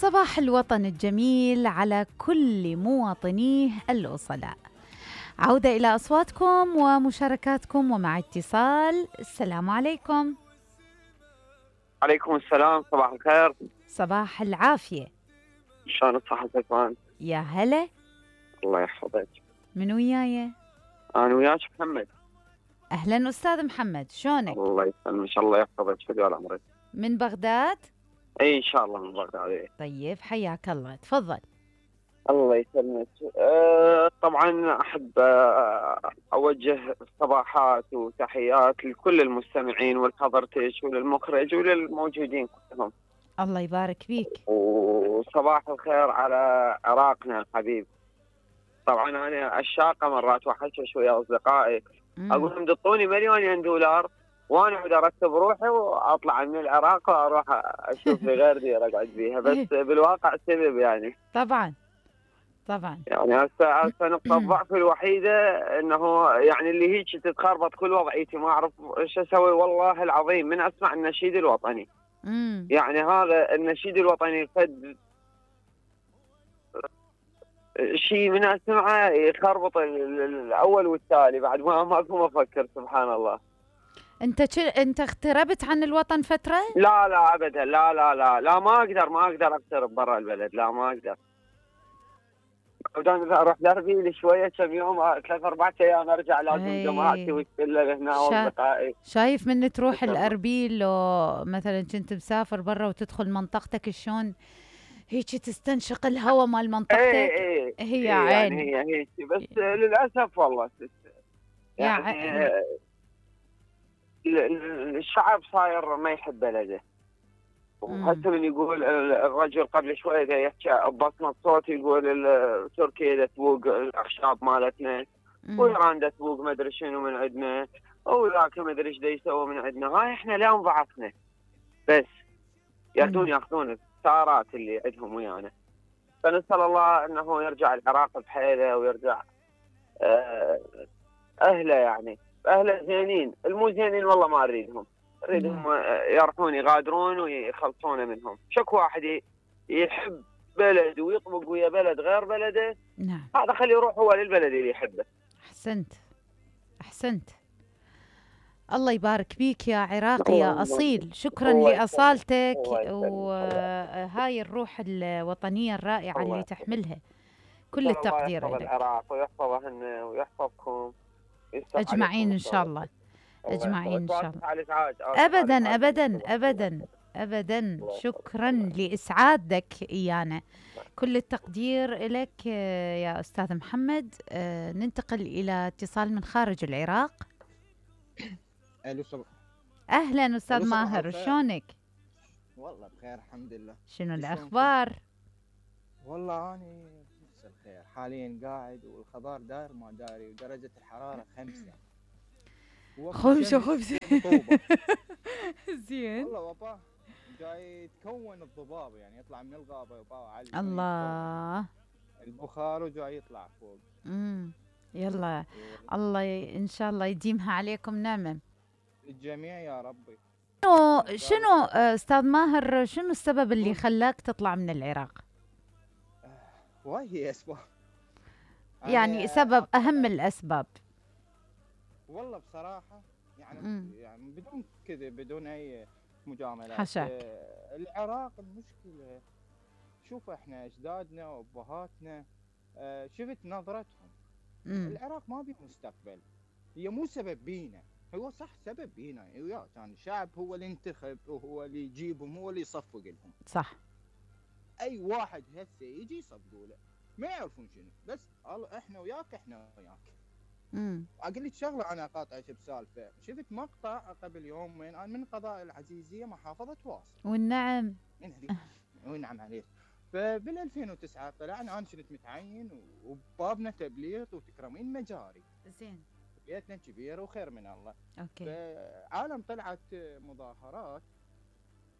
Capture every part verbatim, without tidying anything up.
صباح الوطن الجميل على كل مواطنيه الأصلاء. عودة إلى أصواتكم ومشاركاتكم ومع اتصال. السلام عليكم. عليكم السلام، صباح الخير. صباح العافية. شلون صحتك وانت؟ يا هلا. الله يحفظك. من وياي؟ أنا وياك محمد. أهلا أستاذ محمد، شلونك؟ الله يسلمك، الله يحفظك، شكرا عمرك. من بغداد؟ اي ان شاء الله من بغداد. طيب حياك الله، تفضل. الله يسلمك. أه طبعا احب أه اوجه صباحات وتحيات لكل المستمعين والحضرتك وللمخرج وللموجودين كلهم. الله يبارك فيك. وصباح الخير على عراقنا الحبيب. طبعا انا عشاقه مرات واحشش ويا اصدقائي، اقول لهم دطوني مليونين دولار وانا اقعد ارتب روحي واطلع من العراق واروح اشوف لي غير ديره اقعد بيها، بس بالواقع سبب يعني. طبعا طبعا. يعني هسه هسه نقطه الضعف الوحيده انه يعني اللي هيك تتخربط كل وضعيتي، ما اعرف ايش اسوي والله العظيم من اسمع النشيد الوطني. امم يعني هذا النشيد الوطني فد شيء من اسمعه يخربط الاول والتالي بعد ما ماكو مفكر. سبحان الله. انت ش... انت اغتربت عن الوطن فتره؟ لا لا ابدا، لا لا لا لا ما اقدر ما اقدر اغترب برا البلد، لا ما اقدر. بدون اروح لاربيل شويه كم يوم، ثلاث اربع ايام ارجع لازم أي. جماعتي والشله هنا شا... واصدقائي. شايف من تروح الاربيل لو مثلا كنت مسافر برا وتدخل منطقتك شلون هيك تستنشق الهواء مال منطقتك. اي اي هي اي عين يعني هي هيك، بس للاسف والله يعني عين. الشعب صاير ما يحب بلده. وهسه من يقول الرجل قبل شويه يحكي ببصمه صوت، يقول تركيا تسوق الاخشاب مالتنا وايران تسوق ما ادري شنو من عندنا وذاك ما ادري ايش يسوي من عندنا. هاي احنا لا انضعفنا بس ياخذون ياخذون الثارات اللي عندهم ويانا. فنسال الله انه يرجع العراق بحيله ويرجع اهله، يعني اهله زينين، المو زينين والله ما اريدهم، اريدهم يروحون يغادرون ويخلصون منهم. شك واحد يحب بلد ويطبق ويا بلد غير بلده، نعم هذا خليه يروح هو للبلد اللي يحبه. احسنت احسنت. الله يبارك بيك يا عراقي يا اصيل، شكرا لاصالتك وهاي الروح الوطنيه الرائعه اللي تحملها. كل التقدير لك. العراق ويحفظهن ويحفظكم اجمعين ان شاء الله. اجمعين ان شاء الله. ابدا ابدا ابدا ابدا. شكرا لاسعادك ايانا. كل التقدير لك يا استاذ محمد. ننتقل الى اتصال من خارج العراق. الو صباح. اهلا استاذ ماهر، شلونك؟ والله بخير الحمد لله. شنو الاخبار؟ والله اني نفس الخير، حاليا قاعد والخضار داير ما داري ودرجه الحراره خمسة. خمسة خمسة زين. والله بابا جاي يتكون الضباب، يعني يطلع من الغابه بابا علي. الله. البخار وجاي يطلع فوق. امم يلا الله ي... ان شاء الله يديمها عليكم نعمه الجميع يا ربي. شنو شنو استاذ ماهر، شنو السبب اللي خلاك تطلع من العراق؟ واي هي اسباب، يعني سبب اهم الاسباب. والله بصراحه يعني مم. يعني بدون كذب بدون اي مجاملات، حشاك. آه العراق المشكله شوف احنا اجدادنا وابهاتنا آه شفت نظرتهم. مم. العراق ما بيه مستقبل، هي مو سبب بينا، هو صح سبب بينا ويا كان الشعب هو اللي ينتخب وهو اللي يجيبهم هو اللي يصفق لهم. صح. اي واحد هسه يجي يصفقوا له ما يعرفون شنو، بس احنا وياك احنا وياك. امم اقول لك شغله، انا قاطعك بسالفه. شفت مقطع قبل يومين من قضاء العزيزيه محافظه واصل. والنعم. والنعم عليك. فبال ألفين وتسعة طلعنا، انا كنت متعين وبابنا تبليط وتكرمين مجاري. زين. بيتنا كبير وخير من الله. اوكي. فعالم طلعت مظاهرات،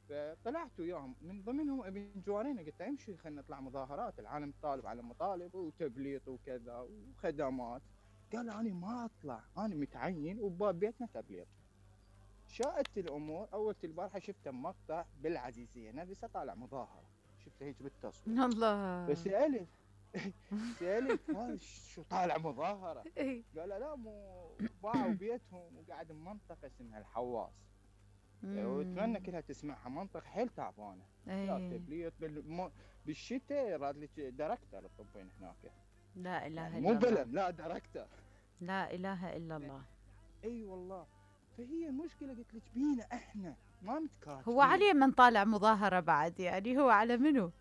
فطلعت وياهم من ضمنهم ابن جوارين، قلت امشي خلينا نطلع مظاهرات، العالم طالب على مطالب وتبليط وكذا وخدمات. قال انا ما اطلع، انا متعين وباب بيتنا تبليط. شاءت الامور، اول البارحه شفت مقطع بالعزيزيه نفسها طالع مظاهره، شفته هيك بالتصوير. الله. فسالت سالت هذا شو طالع مظاهره؟ قال لا مو باعوا بيتهم وقاعد بمنطقه اسمها الحواس، واتمنى كلها تسمعها، منطقه حيل تعبانه. لا تبليط بالشتاء راد لك دايركتر تطبين هناك. لا اله يعني الا مو الله. بلد، لا دايركتر. لا اله الا الله. اي والله. فهي المشكله قلت لك بينا احنا ما متكاتفين. هو علي من طالع مظاهره بعد، يعني هو على منو؟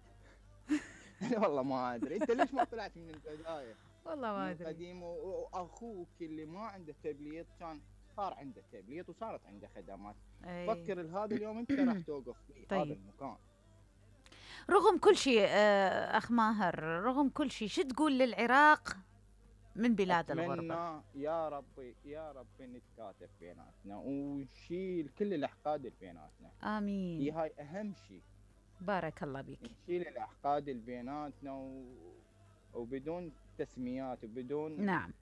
والله ما ادري. انت ليش ما طلعت من البدايه؟ والله ما ادري. قديم. واخوك اللي ما عنده تبليط كان صار عنده تبليط وصارت عنده خدمات. أي. فكر هذا اليوم انت راح توقف في طيب. هذا المكان. رغم كل شيء اخ ماهر، رغم كل شيء، شو تقول للعراق من بلاد الغربة؟ أتمنى يا ربي يا ربي نتكاتف بيناتنا ونشيل كل الأحقاد اللي بيناتنا. آمين. هي هاي أهم شيء. بارك الله بك. نشيل الأحقاد اللي بيناتنا و... وبدون تسميات وبدون نعم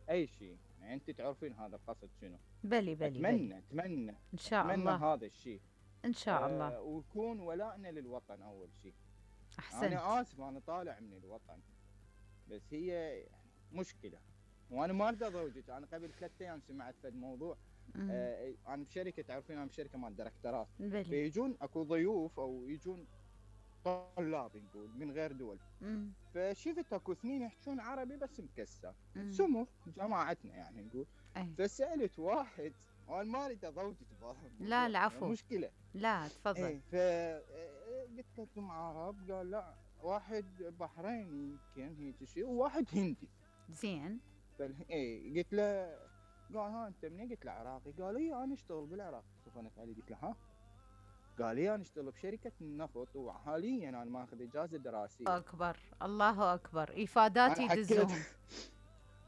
أي شيء. يعني أنت تعرفين هذا القصد شنو. بلي بلي أتمنى بلي. أتمنى إن شاء أتمنى الله هذا الشيء إن شاء آه الله. ويكون ولائنا للوطن أول شيء. أحسنت. أنا آسف أنا طالع من الوطن، بس هي مشكلة. وانا ما ارضى ضوجك. انا قبل ثلاث ايام سمعت فد موضوع. آه انا بشركه، تعرفين انا بشركه مال دايركترات، فيجون اكو ضيوف او يجون طلاب نقول من غير دول. مم. فشفت اكو اثنين يحكون عربي بس مكسر، سمو جماعتنا يعني نقول. أي. فسالت واحد، وانا ما اريد اضوجك. لا العفو. مشكله. لا تفضل. اي فقلت لكم عرب؟ قال لا، واحد بحريني يمكن هيك شيء وواحد هندي. زين. اي قلت له، قال ها انت منين؟ قلت له عراقي. قال اي انا اشتغل بالعراق. صفنت علي قلت له ها؟ قال لي انا اشتغل بشركه النفط وحاليا انا ماخذ اجازه دراسيه. اكبر الله اكبر، افادات يدزهم.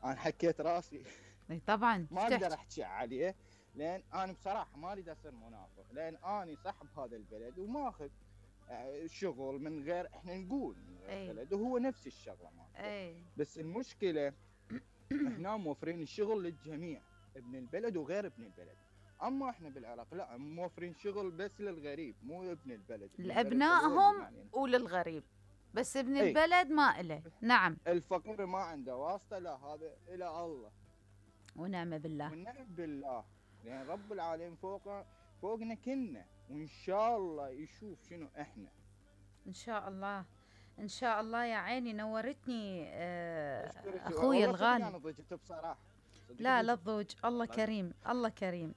انا حكيت راسي. اي طبعا ما اقدر احكي عليه، لان انا بصراحه ما اريد اصير منافق، لان انا صاحب هذا البلد وماخذ شغل من غير احنا نقول من غير بلد، وهو نفس الشغله مالته. بس المشكله احنا موفرين الشغل للجميع، ابن البلد وغير ابن البلد. اما احنا بالعراق لا، موفرين شغل بس للغريب مو ابن البلد. لابنائهم يعني. وللغريب بس ابن ايه؟ البلد ما له. نعم. الفقير ما عنده واسطه، لا هذا الى الله ونعم بالله. ونعم بالله، لان يعني رب العالمين فوق فوقنا كلنا، وان شاء الله يشوف شنو احنا. ان شاء الله ان شاء الله. يا عيني نورتني آه اخوي الغالي. انا ضجت بصراحه. لا لا تضوج، الله كريم الله كريم.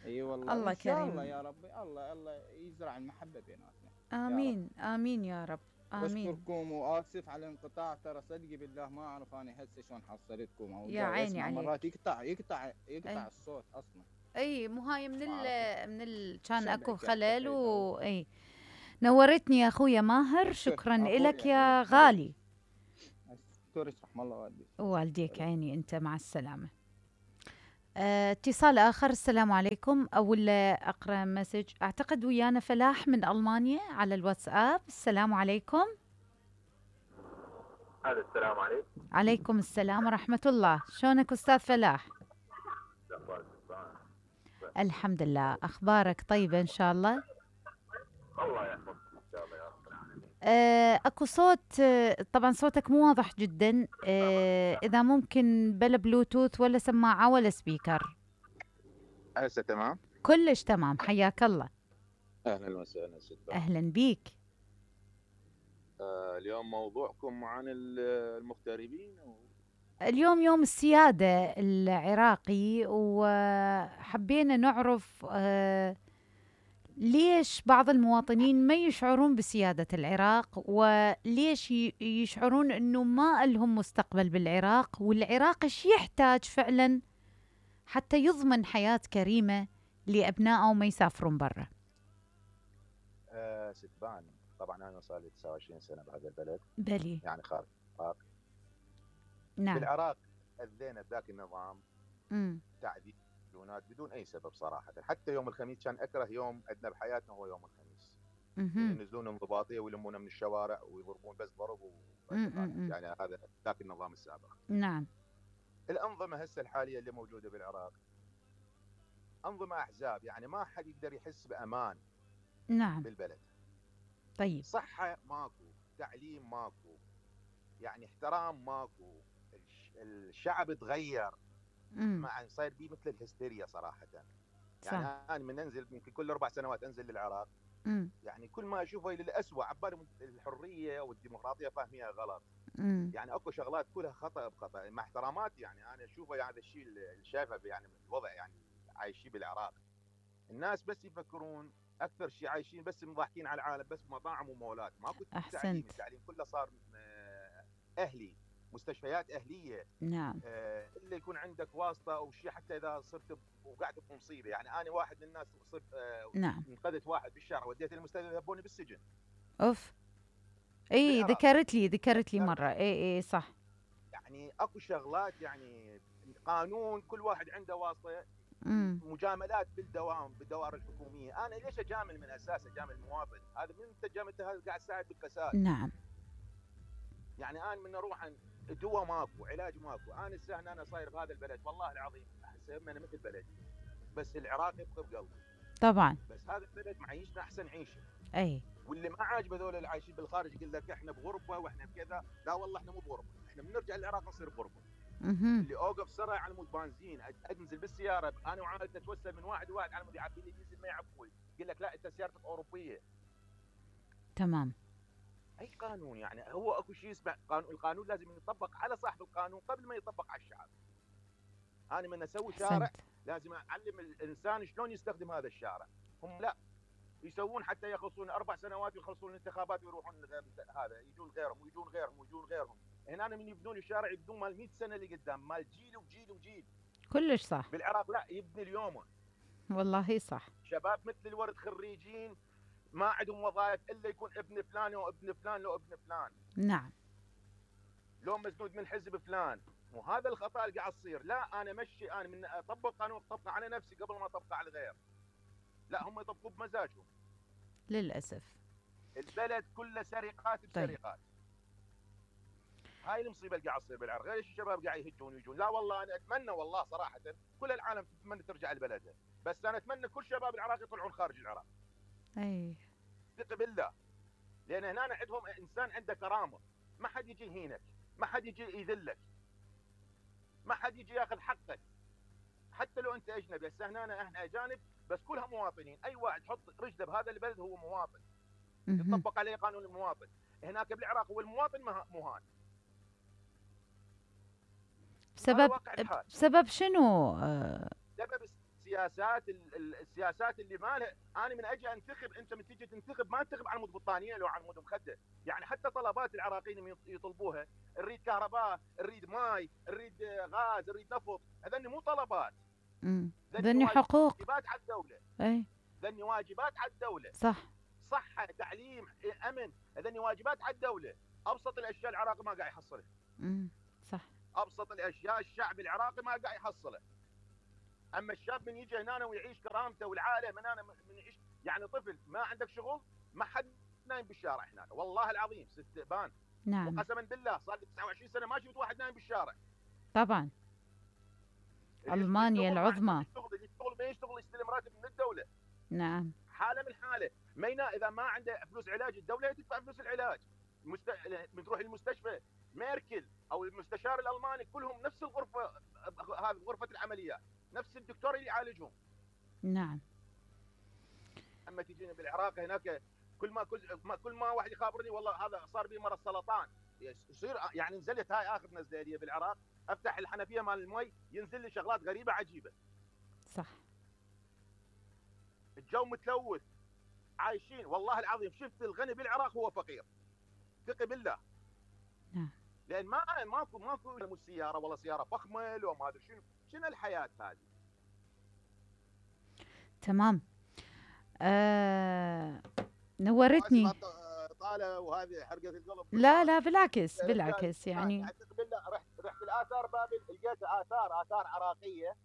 اي أيوة والله. الله ان شاء كريم. الله يا ربي، الله الله يزرع المحبه بيناتنا. امين يا امين يا رب. امين. بشكركم واسف على الانقطاع، ترى صدقي بالله ما اعرف انا هسه شلون حصلتكم. او يا عيني عليك. مرات يقطع يقطع يقطع أي. الصوت اصلا. اي مو هاي من ال من ال كان اكو خلل و اي. نورتني يا اخويا ماهر، شكرا لك يا غالي. اشكرك، رحم الله والديك. والديك عيني انت، مع السلامه. اه اتصال اخر. السلام عليكم. اول اقرا مسج، اعتقد ويانا فلاح من المانيا على الواتساب. السلام عليكم. هذا السلام عليكم. عليكم السلام ورحمه الله. شلونك استاذ فلاح؟ الحمد لله. اخبارك طيبه ان شاء الله؟ الله يحفظك ان شاء الله يا رب العالمين. آه اكو صوت، آه طبعا صوتك مو واضح جدا. آه اذا ممكن بلا بلوتوث ولا سماعه ولا سبيكر. هسه تمام؟ كلش تمام. حياك الله. اهلا وسهلا ست. اهلا بيك. آه اليوم موضوعكم عن المغتربين و... اليوم يوم السيادة العراقي، وحبينا نعرف آه ليش بعض المواطنين ما يشعرون بسيادة العراق، وليش يشعرون أنه ما لهم مستقبل بالعراق، والعراق ايش يحتاج فعلا حتى يضمن حياة كريمة لأبنائه وما يسافرون برا. آه ستبان، طبعا أنا صار لي تسعة وعشرين سنة بهذا البلد. بلي. يعني خارج العراق. نعم. بالعراق أذينا بذاك النظام. امم تعذيب بدون اي سبب صراحه. حتى يوم الخميس كان اكره يوم عندنا بحياتنا هو يوم الخميس. ينزلون انضباطيه ويلمونا من الشوارع ويضربون بس ضرب و... يعني هذا ذاك النظام السابق. نعم. الانظمه هسه الحاليه اللي موجوده بالعراق انظمه احزاب، يعني ما حد يقدر يحس بامان. نعم. بالبلد. طيب. صحة ماكو، تعليم ماكو، يعني احترام ماكو، الشعب تغير، مع صاير بيه مثل الهستيريا صراحة. يعني انا من انزل يمكن كل اربع سنوات انزل للعراق، مم. يعني كل ما اشوفه للاسوء، عبالي الحريه والديمقراطيه فاهميها غلط. مم. يعني اكو شغلات كلها خطا بخطا، مع احتراماتي يعني انا اشوفه يعني هذا الشيء اللي شايفه يعني الوضع يعني عايشين بالعراق. الناس بس يفكرون اكثر شيء عايشين بس مضحكين على العالم، بس مطاعم ومولات، ماكو تعليم، التعليم كله صار اهلي، مستشفيات اهليه. نعم. آه الا يكون عندك واسطه او شيء، حتى اذا صرت وقعت بمصيبه. يعني انا واحد من الناس صرت آه نعم. انقذت واحد بالشارع، وديته المستشفى، ذبوني بالسجن. اوف. اي ذكرت لي ذكرت لي مره. اي اي صح. يعني اكو شغلات، يعني قانون كل واحد عنده واسطه. مم. مجاملات بالدوام بالدوائر الحكوميه، انا ليش اجامل من اساس اجامل المواطن؟ هذا من انت جاملت هذا قاعد تساعد بالفساد. نعم. يعني انا من اروح دواء ماكو، علاج ماكو، انا السهل انا صاير بهذا البلد والله العظيم احسب انا مثل بلدي، بس العراق يبقى بقلبي طبعا. بس هذا البلد معيشنا احسن عيشه. اي. واللي ما عاجبه هذول اللي عايشين بالخارج يقول لك احنا بغربه واحنا بكذا، لا والله احنا مو بغربه، احنا بنرجع العراق نصير بغربه. اللي اوقف سرعه على مود بنزين، انزل بالسياره انا وعائلتي اتوسل من واحد لواحد على مود يعبي لي ديزل ما يعبوي، يقول لك لا انت سيارتك اوروبيه. تمام. اي قانون؟ يعني هو اكو شيء اسمه قانون، القانون لازم يطبق على صاحب القانون قبل ما يطبق على الشعب. انا من اسوي شارع لازم اعلم الانسان شلون يستخدم هذا الشارع، هم لا يسوون حتى يخلصون اربع سنوات ويخلصون الانتخابات ويروحون هذا، يجون غيرهم ويجون غيرهم ويجون غيرهم. هنا من يبنون الشارع يبنون مال مئة سنه اللي قدام، مال جيل وجيل وجيل. كلش صح. بالعراق لا، يبني اليوم. والله صح. شباب مثل الورد خريجين ما عندهم وظائف الا يكون ابن فلان او ابن فلان لو ابن فلان. نعم. لو مسنود من حزب فلان، وهذا الخطا اللي قاعد يصير. لا انا مشي، انا من اطبق قانون اطبقه على نفسي قبل ما اطبقه على الغير. لا هم يطبقوا بمزاجهم للاسف. البلد كله سرقات بسرقات. طيب. هاي المصيبه اللي قاعد تصير بالعراق. غير الشباب قاعد يهجون ويجون. لا والله انا اتمنى والله صراحه كل العالم تتمنى ترجع لبلدها، بس انا اتمنى كل شباب العراق يطلعون خارج العراق. اي ثق بالله، لان هنا عندهم انسان عنده كرامه، ما حد يجي يهينك، ما حد يجي يذلك، ما حد يجي ياخذ حقك، حتى لو انت اجنبي. هسه هنا احنا اجانب بس كلها مواطنين، اي واحد يحط رجله بهذا البلد هو مواطن، يطبق عليه قانون المواطن. هناك بالعراق هو المواطن مهان. بسبب بسبب شنو؟ سبب السياسات السياسات اللي مالها. انا من اجي انتخب، انت من تيجي تنتخب ما تنتخب على مود بطانيه لو على مود مخده. يعني حتى طلبات العراقيين يطلبوها، نريد كهرباء، نريد ماي، نريد غاز، نريد نفط، هذني مو طلبات، هذني حقوق، واجبات على الدوله. اي هذني واجبات على الدوله. صح. صحه، تعليم، امن، هذني واجبات على الدوله. ابسط الاشياء العراقي ما قاعد يحصلها. امم صح. ابسط الاشياء الشعب العراقي ما قاعد يحصلها. اما الشاب من يجي هنا ويعيش كرامته، والعائله من هنا من يعيش، يعني طفل ما عندك شغل، ما حد نايم بالشارع هناك والله العظيم ست بان. نعم. وقسما بالله صار لي تسعة وعشرين سنه ما شفت واحد نايم بالشارع. طبعا. المانيا العظمى. يشتغل يشتغل ما يشتغل يستلم راتب من الدوله. نعم. حاله من حاله، مينا اذا ما عنده فلوس علاج الدوله تدفع فلوس العلاج. مست... بتروح المستشفى ميركل او المستشار الالماني كلهم نفس الغرفه، هذه غرفه العمليات، نفس الدكتور اللي يعالجهم. نعم. اما تجينا بالعراق هناك كل ما كل ما كل ما واحد يخابرني والله هذا صار بي مرض سرطان، يصير يعني نزلت هاي اخر نزله لي بالعراق، افتح الحنفيه مال المي ينزل لي شغلات غريبه عجيبه. صح. الجو متلوث، عايشين والله العظيم شفت الغني بالعراق هو فقير. ثق بالله. نعم. لان ما ماكو ماكو مو سياره ولا سياره فخمه لو ما ادري شنو، شنو الحياه هذه؟ تمام. آه... نورتني. طالع وهذه حرقه القلب. لا لا بالعكس بالعكس يعني. ثق بالله رحت رحت الاثار بابل، لقيت اثار اثار عراقيه،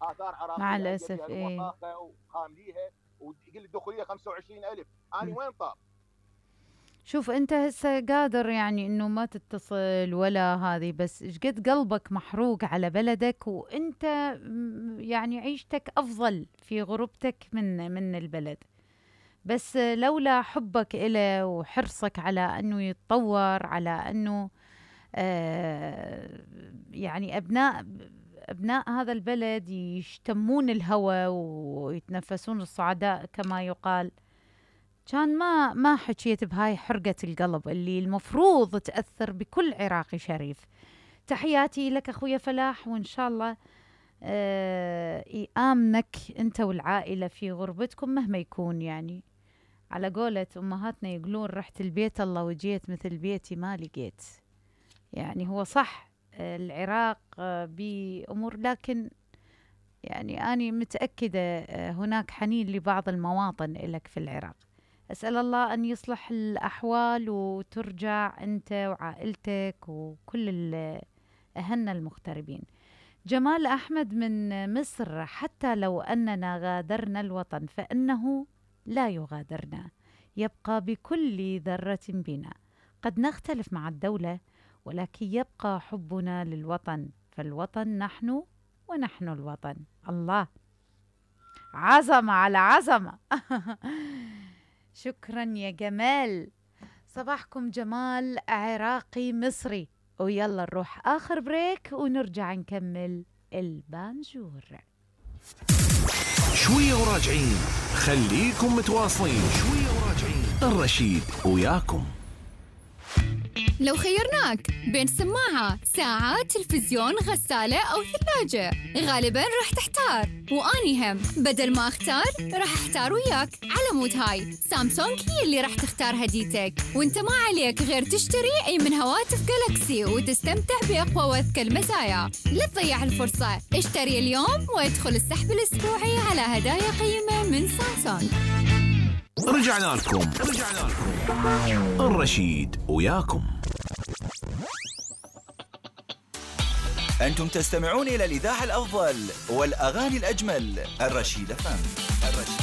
اثار عراقيه مع الاسف ايه وخامليها، ويقول لي الدخوليه خمسة وعشرين ألف. انا وين طاب؟ شوف انت هسه قادر يعني انه ما تتصل ولا هذه، بس ايش قد قلبك محروق على بلدك، وانت يعني عيشتك افضل في غربتك من من البلد. بس لولا حبك إله وحرصك على أنه يتطور، على أنه آه يعني أبناء أبناء هذا البلد يشتمون الهوى ويتنفسون الصعداء كما يقال، كان ما ما حكيت بهاي حرقة القلب اللي المفروض تأثر بكل عراقي شريف. تحياتي لك أخويا فلاح، وإن شاء الله آه يآمنك أنت والعائلة في غربتكم مهما يكون. يعني على قولة أمهاتنا يقولون رحت البيت الله وجيت مثل بيتي ما لقيت. يعني هو صح العراق بأمور، لكن يعني أنا متأكدة هناك حنين لبعض المواطن لك في العراق. أسأل الله أن يصلح الأحوال وترجع أنت وعائلتك وكل أهلنا المغتربين. جمال أحمد من مصر: حتى لو أننا غادرنا الوطن فإنه لا يغادرنا، يبقى بكل ذرة بنا. قد نختلف مع الدولة ولكن يبقى حبنا للوطن، فالوطن نحن ونحن الوطن. الله، عظمة على عظمة. شكرا يا جمال. صباحكم جمال عراقي مصري. ويلا نروح آخر بريك ونرجع نكمل البانجور. شوية وراجعين، خليكم متواصلين. شوية وراجعين، الرشيد وياكم. لو خيرناك بين سماعة، ساعة، تلفزيون، غسالة أو ثلاجة، غالباً راح تحتار. وأني هم بدل ما أختار راح أحتار وياك. على مود هاي سامسونج هي اللي راح تختار هديتك، وانت ما عليك غير تشتري أي من هواتف جالاكسي وتستمتع بأقوى وأذكى المزايا. لا تضيع الفرصة، اشتري اليوم وادخل السحب الأسبوعي على هدايا قيمة من سامسونج. رجعنا لكم رجعنا لكم الرشيد وياكم. أنتم تستمعون إلى الإذاعة الأفضل والأغاني الأجمل، الرشيد فم.